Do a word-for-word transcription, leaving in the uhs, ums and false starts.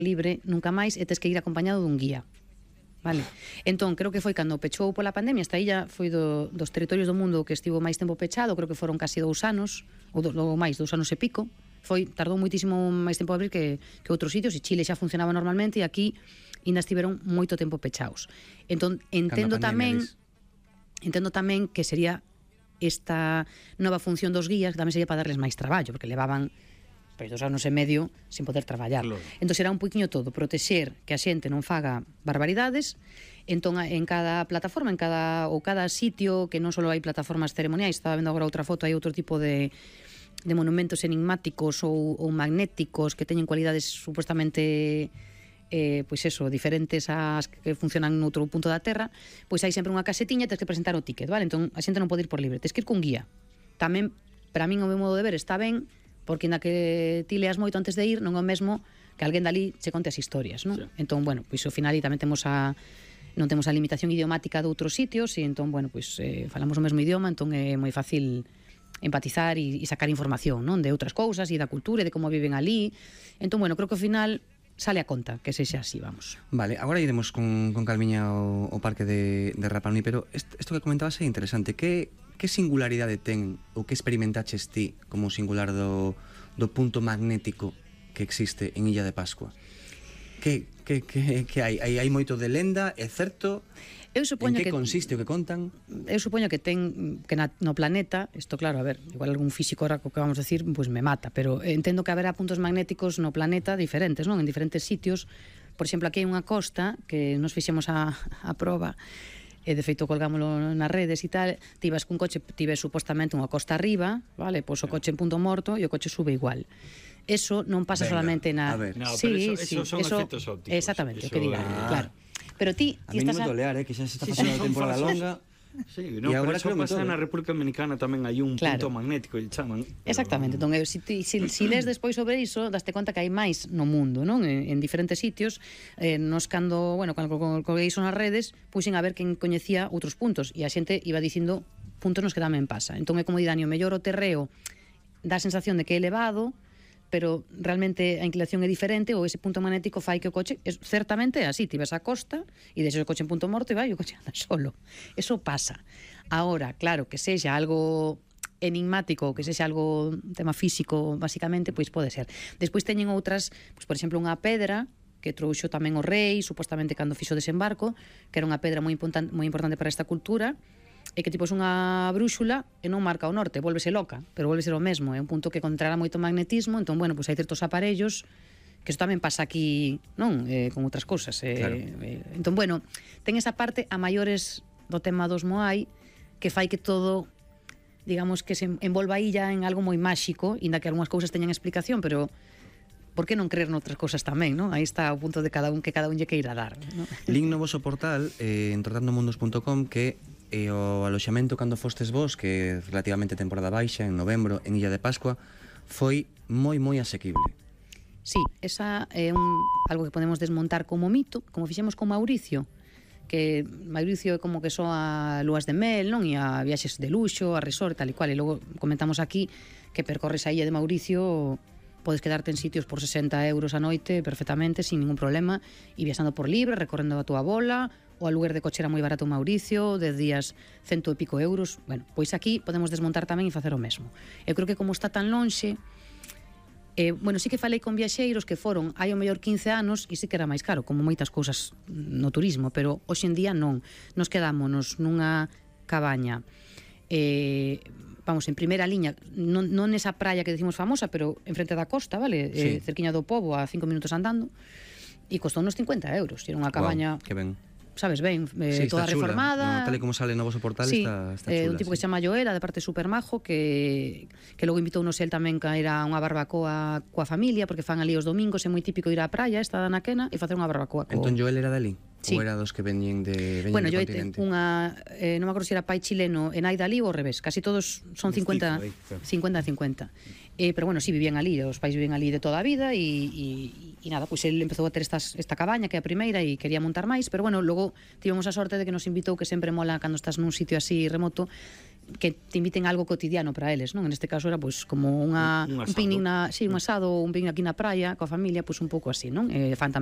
libre nunca máis e tes que ir acompañado dun guía. Vale. Entón, creo que foi cando pechou pola pandemia, esta illa foi do, dos territorios do mundo que estivo máis tempo pechado, creo que foron casi dous anos, ou do, do máis, dous anos e pico. Foi, tardou moitísimo máis tempo a abrir que, que outros sitios, e Chile xa funcionaba normalmente, e aquí ainda estiveron moito tempo pechados. Entón, entendo tamén, entendo tamén que sería esta nova función dos guías, que tamén sería para darles máis traballo, porque levaban pois dos anos e medio sin poder traballar. Claro. Entón será un poquinho todo, protexer que a xente non faga barbaridades. Entón en cada plataforma, en cada ou cada sitio, que non só hai plataformas ceremoniais, estaba vendo agora outra foto, hai outro tipo de de monumentos enigmáticos ou, ou magnéticos que teñen cualidades supuestamente eh, pois eso, diferentes ás que funcionan noutro punto da Terra, pois hai sempre unha casetiña e tens que presentar o ticket, vale? Entón a xente non pode ir por libre, tens que ir con guía. Tamén, para min, o meu modo de ver está ben, porque na que ti leas moito antes de ir non é o mesmo que alguén dali che conte as historias, non? Sí. Entón, bueno, pois ao final tamén temos a non temos a limitación idiomática de outros sitios e entón, bueno, pois eh, falamos o mesmo idioma, entón é moi fácil empatizar e, e sacar información, non? De outras cousas e da cultura e de como viven ali. Entón, bueno, creo que ao final sale a conta que sexa así, vamos. Vale, agora iremos con, con calmiña ao, ao parque de, de Rapa Nui, pero isto que comentabas é interesante. Que Que singularidade ten ou que experimentaches ti como singular do, do punto magnético que existe en Illa de Pascua? Que, que, que, que hai? hai? Hai moito de lenda, é certo? Eu supoño en que, que consiste o que contan? Eu supoño que ten que na, no planeta, isto claro, a ver, igual algún físico ahora que vamos a decir, pois pues me mata, pero entendo que haberá puntos magnéticos no planeta diferentes, non? En diferentes sitios. Por exemplo, aquí hai unha costa que nos fixemos a, a proba, e de feito colgámoslo nas redes e tal, ti vas cun coche, ti ves supostamente unha costa arriba, vale, pois o coche en punto morto e o coche sube igual. Eso non pasa Venga, solamente na... A ver. No, sí, pero eso, sí, eso son eso, efectos ópticos. Exactamente, eso o que diga, é... claro. Pero ti, ti a mí estás non me tolear, eh, que xa se está sí, pasando sí, a temporada longa. Sí, no, pero eso pasa na República Dominicana tamén hai un claro. punto magnético, el chaman. Exactamente, entón, eu, si, si, si les despois sobre iso, daste conta que hai máis no mundo, non? En, en diferentes sitios, eh, nos cando, bueno, cando colguei iso nas redes, puxen a ver quen coñecía outros puntos, e a xente iba dicindo puntos nos que tamén pasa. Entón é como di Dani, o mellor o terreo dá a sensación de que é elevado, pero realmente a inclinación é diferente, ou ese punto magnético fai que o coche, es, certamente é así, ti ves a costa e deixas o coche en punto morto e vai, o coche anda solo. Eso pasa. Ahora, claro, que sexa algo enigmático, que sexa algo tema físico, basicamente, pois pode ser. Despois teñen outras, pois por exemplo, unha pedra que trouxo tamén o rei, supostamente cando fixo o desembarco, que era unha pedra moi importante, moi importante para esta cultura, e que tipo é unha brúxula e non marca o norte, volvese loca, pero volve ser o mesmo, é un punto que contrará moito magnetismo, entón, bueno, pois hai certos aparellos que isto tamén pasa aquí, non? Eh, con outras cousas. Eh, claro. eh, entón, bueno, ten esa parte a maiores do tema dos Moai que fai que todo, digamos, que se envolva aí ya en algo moi máxico, inda que algunhas cousas teñan explicación, pero por que non creer noutras cousas tamén, non? Aí está o punto de cada un que cada un lle queira dar, non? Link no voso portal, eh, en trotandomundos punto com, que e o aloxamento cando fostes vos, que relativamente temporada baixa, en novembro, en Illa de Pascua, foi moi, moi asequible. Sí, esa é un, algo que podemos desmontar como mito, como fixemos con Mauricio, que Mauricio é como que só a lúas de mel, non? E a viaxes de luxo, a resort, tal e cual, e logo comentamos aquí que percorres a Illa de Mauricio, podes quedarte en sitios por sesenta euros a noite perfectamente, sin ningún problema, e viaxando por libre, recorrendo a túa bola. O aluguer de coche era moi barato en Mauricio, de días cento e pico euros. Bueno, pois aquí podemos desmontar tamén e facer o mesmo. Eu creo que como está tan lonxe, eh, bueno, sí que falei con viaxeiros que foron hai o mellor quince anos e sí que era máis caro, como moitas cousas no turismo, pero hoxe en día non. Nos quedámonos nunha cabaña, eh, vamos, en primeira liña, non, non nesa praia que decimos famosa, pero enfrente da costa, vale? Sí. Eh, cerquiña do Pobo, a cinco minutos andando, e costou uns cincuenta euros. Era unha cabaña... Wow, que ben. Sabes, ben, eh, sí, toda reformada, no, tal e como sale no voso portal, sí, está, está eh, chula, un tipo sí. que se chama Joel, de parte super majo, que, que logo invitounos el tamén a ir a unha barbacoa coa familia, porque fan ali os domingos, é moi típico ir á praia, esta da Naquena, e facer unha barbacoa co... Entón Joel era dali? Sí. Ou era dos que veñen de veñen bueno, do yo continente? Unha, eh, non me acordo se era pai chileno e nai dali ou ao revés, casi todos son cincuenta cincuenta. Eh, pero bueno, sí, vivían ali, os pais vivían ali de toda a vida e, e, e nada, pois pues el empezou a ter estas, esta cabaña que é a primeira e quería montar máis, pero bueno, logo tivemos a sorte de que nos invitou, que sempre mola cando estás nun sitio así remoto, que te inviten a algo cotidiano para eles, non? En este caso era pois como unha un, un un picnic na, sí, un asado ou un picnic aquí na praia coa familia, pois un pouco así, non? Eh, fan